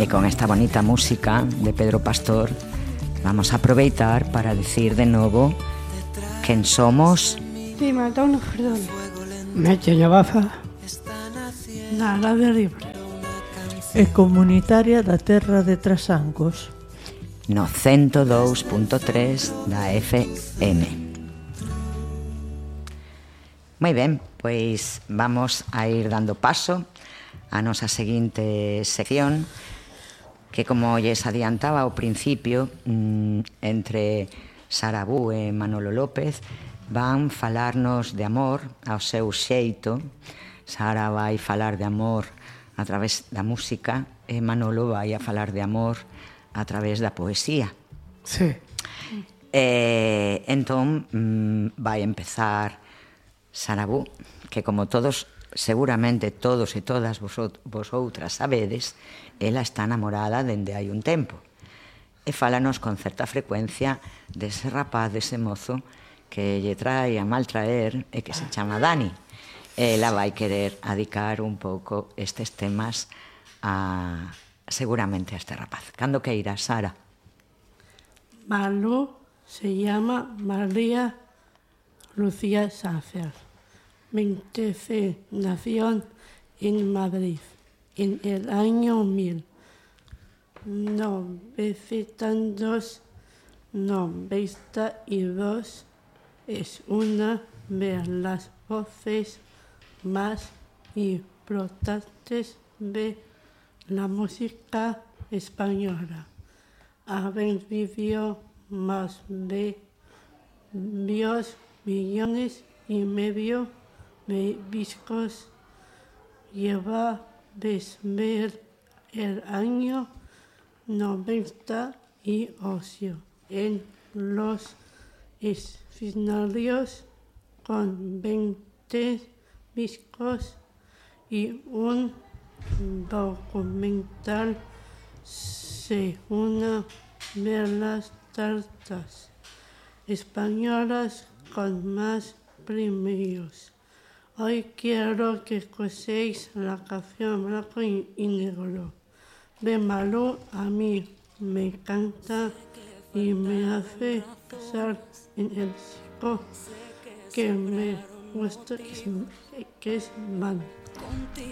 Y con esta bonita música de Pedro Pastor vamos a aproveitar para decir de novo quen somos. Mi matón, perdón. Meche Llavaza Na Radio Libre. E comunitaria da terra de Trasancos. No 102.3 da FM. Moi ben, pois vamos a ir dando paso a nosa seguinte sección, que como lles adiantaba ao principio, entre Sara Bu e Manolo López van falarnos de amor ao seu xeito. Sara vai falar de amor a través da música e Manolo vai a falar de amor a través da poesía. Sí. Entón vai empezar Sara Bu, que como todos, seguramente todos e todas vosotras sabedes, ela está namorada dende hai un tempo e fálanos con certa frecuencia dese rapaz, dese mozo que lle trae a maltraer e que se chama Dani. Ela vai querer adicar un pouco estes temas seguramente a este rapaz. Cando que irá, Sara? Malú se llama María Lucía Sánchez. 26 nació en Madrid en el año 1992. Es una de las voces más importantes de la música española. Ha vendido más de 2,5 millones de discos. Lleva desde el año 98 en los escenarios con 20 discos y un documental. Se una de las artistas españolas con más premios. Hoy quiero que escuchéis la canción Blanco y Negro de Malú. A mí me encanta y me hace pensar en el chico que me gusta, que es Man.